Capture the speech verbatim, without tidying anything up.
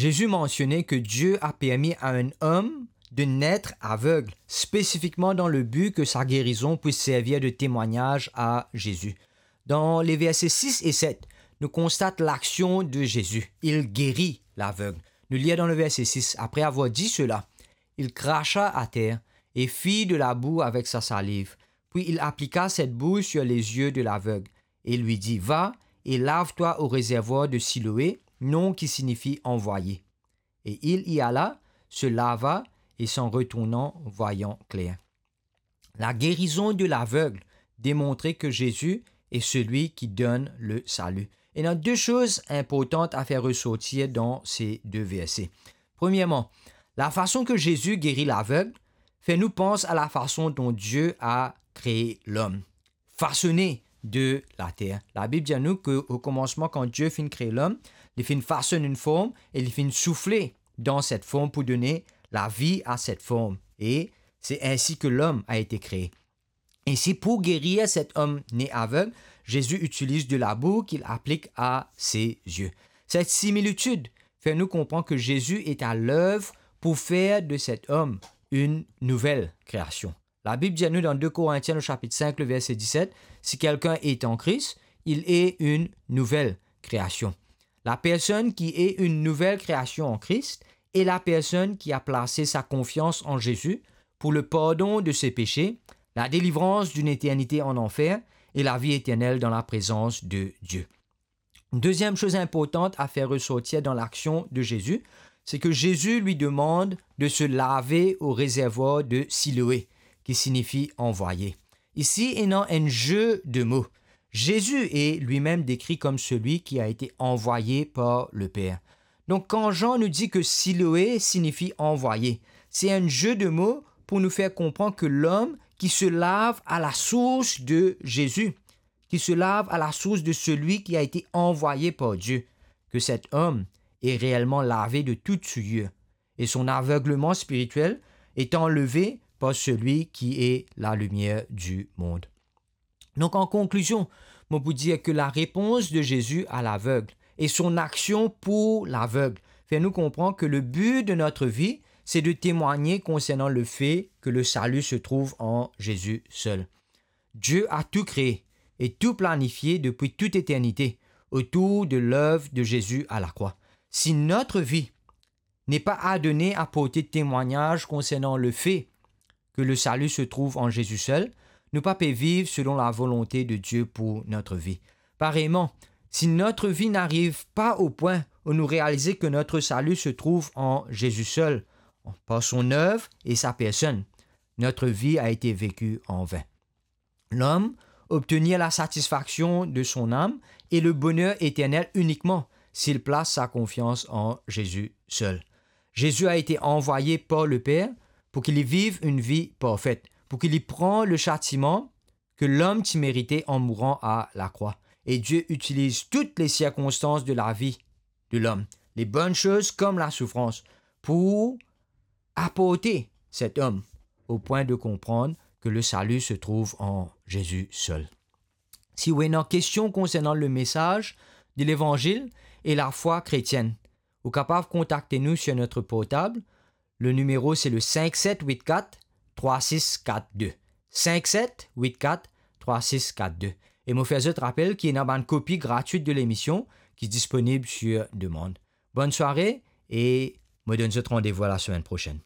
Jésus mansione ke Die a permi a enn om de net aveg, spesifikman dan le bi ke sa gerizon pwis servi de temwagnaz a Zezi. Dan le verse sis e set, nou konstat laksion de Zezi. Il geri laveg. Nou lir dan le verse sis, "Apre avoir di sela, il kracha ater e fit de labou avek sa saliv. Puis il aplika cette boue sur les yeux de l'aveugle et lui dit, 'Va et lave-toi au réservoir de Siloé, nom qui signifie envoyé.' Et il y alla, se lava et s'en retournant, voyant clair." La guérison de l'aveugle démontrait que Jésus est celui qui donne le salut. Et il y a deux choses importantes à faire ressortir dans ces deux versets. Premièrement, la façon que Jésus guérit l'aveugle fait nous penser à la façon dont Dieu a créé l'homme, façonné de la terre. La Bib dir nou ke o komansman, kan Die finn kree lom, li finn fasonn enn form e li finn soufle dan set form pou done lavi a set form. E se ainsi que l'homme a été créé. Ici, pour guérir cet homme né aveugle, Jésus utilise de la boue qu'il applique à ses yeux. Cette similitude fait nous comprendre que Jésus est à l'œuvre pour faire de cet homme une nouvelle création. La Bib dir nou dan deux Corinthiens, le chapitre cinq, le verset dix-sept, "Si quelqu'un est en Christ, il est une nouvelle création." La personne qui est une nouvelle création en Christ est la personne qui a placé sa confiance en Jésus pour le pardon de ses péchés, la délivrance d'une éternité en enfer et la vie éternelle dans la présence de Dieu. Une deuxième chose importante à faire ressortir dans l'action de Jésus, c'est que Jésus lui demande de se laver au réservoir de Siloé, qui signifie envoyé. Ici, il y a un jeu de mots. Jésus est lui-même décrit comme celui qui a été envoyé par le Père. Donc, quand Jean nous dit que Siloé signifie envoyé, c'est un jeu de mots pour nous faire comprendre que l'homme qui se lave à la source de Jésus, qui se lave à la source de celui qui a été envoyé par Dieu, que cet homme est réellement lavé de toute souillure, et son aveuglement spirituel est enlevé par celui qui est la lumière du monde. Donc, en conclusion, mo pou dir que la réponse de Jésus à l'aveugle et son action pour l'aveugle fait nous comprendre que le but de notre vie, c'est de témoigner concernant le fait que le salut se trouve en Jésus seul. Dieu a tout créé et tout planifié depuis toute éternité autour de l'œuvre de Jésus à la croix. Si notre vie n'est pas adonnée à porter témoignage concernant le fait que le salut se trouve en Jésus seul, nou pa pe viv selon la volonté de Dieu pour notre vie. Pareillement, si notre vie n'arrive pas au point où nous réalisons que notre salut se trouve en Jésus seul, par son œuvre et sa personne, notre vie a été vécue en vain. L'homme obtenir la satisfaction de son âme et le bonheur éternel uniquement s'il place sa confiance en Jésus seul. Jésus a été envoyé par le Père pour qu'il vive une vie parfaite, pour qu'il prenne le châtiment que l'homme ti méritait en mourant à la croix. Et Dieu utilise toutes les circonstances de la vie de l'homme, les bonnes choses comme la souffrance, pour apporter cet homme au point de comprendre que le salut se trouve en Jésus seul. Si ou ena question concernant le message de l'évangile et la foi chrétienne, ou capable contacter nous sur notre portable. Le numéro, c'est le cinq sept huit quatre trois six quatre deux. Cinq sept huit quatre trois six quatre deux. Et mo fer zot rapel ki ena bann kopi gratwit de l'émission ki disponib sur demande. Bonne soirée et mo donn zot randevou à la semaine prochaine.